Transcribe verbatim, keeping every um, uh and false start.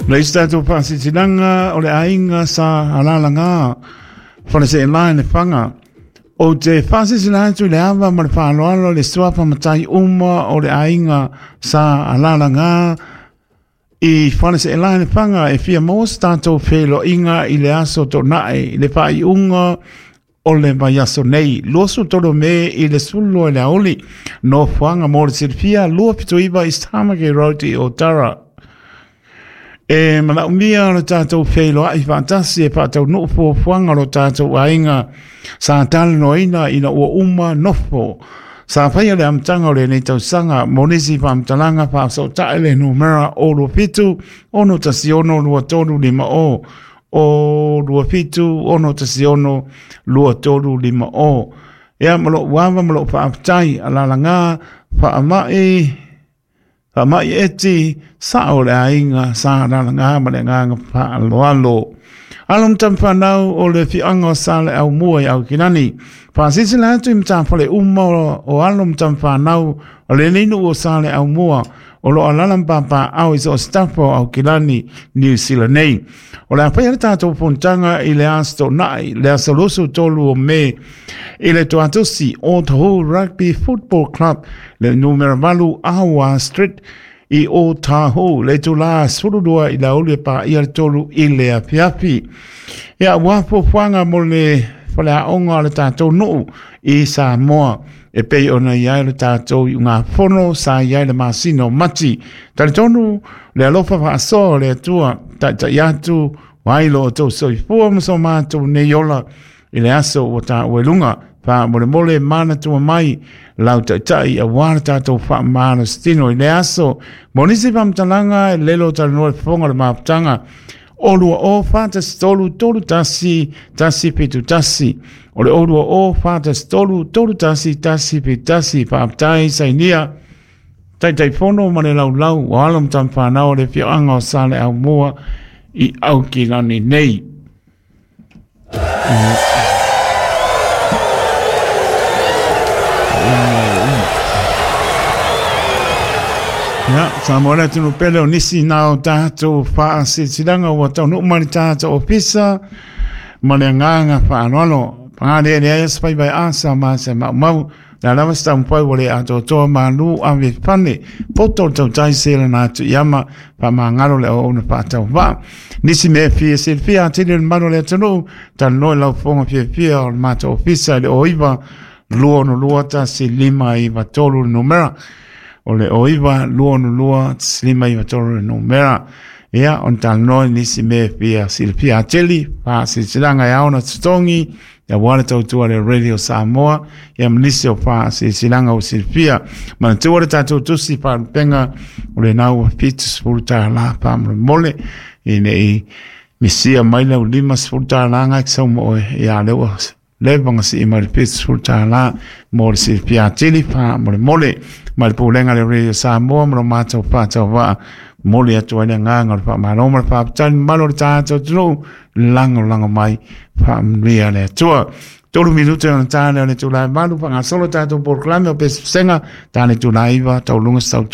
Le isi tatou faasilasilaga o le aiga sa alalaga Faleseelā i Lefaga. Ou te faasilasila atu i le ava ma le faaaloalo le suafa matai uma o le aiga sa alalaga i Faleseelā i Lefaga e fia maua se tatou feiloaiga i le aso Toonai i le faaiuga o le vaiaso nei, luasefulu tolu o Me i le sefulu lua i le aoauli. Nofoaga mo le silafia lua fitu iva East Tamaki Road i Otara. E manaomia lo tatou feiloai faatasi e faataunuu fuafuaga o lo tatou aiga sa talanoaina ina ua uma nofo. Sa faia le amataga o lenei tausaga mo nisi faamatalaga faasootae le numera o lua fitu ono tasi ono lua tolu lima o o lua fitu ono tasi ono lua tolu lima o. Ia ma lou ava ma lou faafetai alalaga faamai faamai eti sao o le aiga sa alalaga ma le agaga faaaloalo. Alo ma tama o le afioaga o Saleaaumua i Aukilani. Faasilasila atu i matafale uma o alo ma tama o lenei nuu o Saleaaumua o lo o alaala ma papaao i so o se tafa o Aukilani, Niu Sila nei. O le a faia le tatou fonotaga i le aso Toonai, le aso luasefulu tolu o Me i le Tuatosi Otahuhu Rugby Football Club, le numera valu Awa Street i Otahuhu, le itula sefulu lua i le aoauli e paia le tolu i le afiafi. Ia, ua fuafuaga mo le faleaoga o le tatou nuu i Samoa e pei ona i ai le tatou iugafono sa i ai le masina o Mati. Talitonu le alofa faasoa o le Atua taitai atu ai lo outou soifua ma so matou nei ola i le aso ua taua i luga. Faamolemole manatua mai lau taitai aua le tatou faamalositino i le aso. Mo nisi faamatalaga e lelo talanoa le fofoga o le mafutaga o lua o fa tasi tolu tolu tasi tasi fitu tasi. O le o lua o fa tasi tolu tolu tasi tasi fitu tasi. Faafetai sainia Taitaifono ma le laulau o alo ma tama fanau o le afioaga o Saleaaumua i Aukilani nei. Ia, Samoa le atunuu pele o nisi na o tatou faasilasilaga ua taunuu mai le tatou ofisa ma le agaga faaaloalo. Paga lea leai se faiva e asa ma se maumau. Le a lava se taumafai ua le atoatoa malu ave fane. Poto o le tautai se lana atu i ama faamagalo le auauna faatauvaa. Nisi mea fia silafia atili o le mamalu o le atunuu, talanoa i lau fofoga fiafia o le matou ofisa i le o iva lua ono lua tasi lima iva tolu le numera. O le o iva lua ono lua tasi lima iva tolu le numera. Ia, ona talanoa i nisi mea fia silafia atili, faasilasilaga e ao ona totogi, ia le tautua le Radio Samoa, ia ma nisi o faasilasilaga o silafia. Manatua le tatou tusi faalupega o lena ua fitusefulu tālā faamolemole, ina i misia mai lau limasefulu tālā ngai ki sau mo oe, ia lea ua leva na sii mai le fitusefulu tālā mo le silafia atili faamolemole. Mai le pulega le Radio Samoa ma lo matou faatauvaa moli atu ai le agaga o le faamalo ma le faafetai le mamalu o le tatou atunuu lagolago mai faamanuia le Atua. Tolu minute ona tā lea o le itula e valu faagasolo tatou polokalame o pesepesega tā le itula e iva tauluga se tautua.